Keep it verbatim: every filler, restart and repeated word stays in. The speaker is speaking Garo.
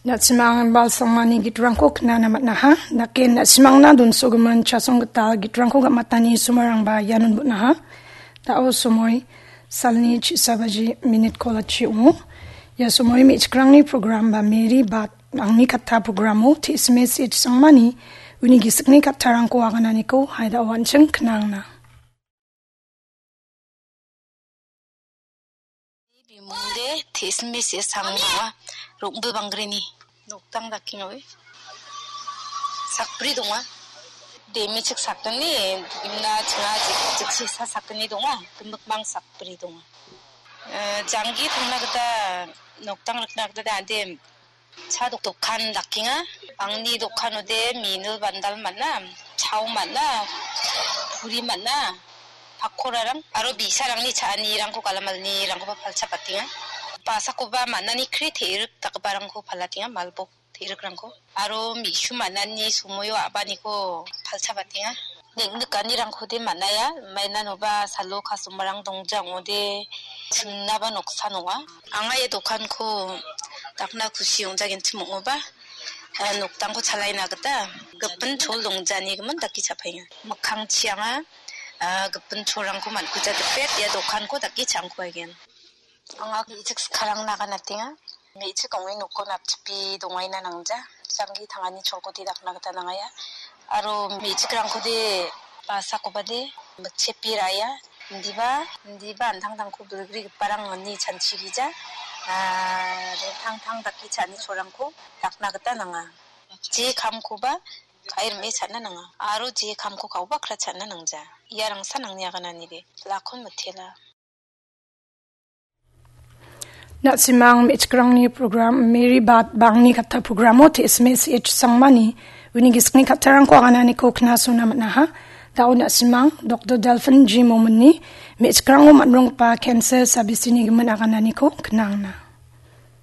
Na·simang balsangmani gitrangko knana man·aha. Naken na·simangna donsogimin chasong gital gitrangko gam·atani somoirangba ianon bon·aha. Da·o somoi salni chisa baji minit kolachi ong·o. Ia somoi me·chikrangni program ba Mary Bad Angni Katta programo T S M S H Sangmani uni gisikni kattarangko agananiko haida oan·ching knangna. Bimunde T S M S H Sangma ong·a, Rongbil Banggrini. Noktang dakenga ue. Sakbri donga. Demi chik sakgni, imna chinga jik-, jiksi sa sakgni donga. Gimikmang sakbri donga. Eh, janggi tangna gita, noktang rikna gita ande cha dok-, dokan dakenga. Angni dokanode minul bandal man·a, chao man·a, puri man·a, pakorarang aro bi·sarangni cha·anirangko galamalnirangkoba palchapatenga. Basakoba man·ani kri te·rik dakgiparangko palatenga, malbok te·rikrangko. Aro mi·su man·ani somoio a·baniko palchapatenga. Neng·nikanirangkode man·aia, mainanoba salo customerrang dongja ong·ode, ching·naba noksan ong·a. Anga ia dokanko dakna kusi ong·jagenchim ong·oba, eh, noktangko chalaina gita gipin chol dongjanigimin dake cha·paenga. Mikkangchi anga, ah, gipin cholrangko man·kuja dipet ia dokanko dake cha·angkuaigen. Anga me·chik skarang naganatenga. Me·chik ong·e nokon napchipe dongaina nangja. Janggi tangani cholkode dakna gita nangaia. Aro me·chikrangkode basakobade mikchepe ra·aia. Indiba, indiba an·tangtangko bilgrigiparang ine chanchigija. Ah, dingtang tang dake cha·ani cholrangko dakna gita nanga. Je kamkoba ka·e rim·e cha·na nanga. Aro je kamko ka·oba kra cha·na nangja. Iarangsan angni agananide. Lakon mitela. Na·simang me·chikrangni program Mary Bad Bangni Katta programo T S M S H Sangmani uni gisikni kattarangko agananiko knasona man·aha. Da·o na·simang Doktor Delphin G Mominni me·chikrango man·ronggipa cancer sabisini gimin agananiko knangna.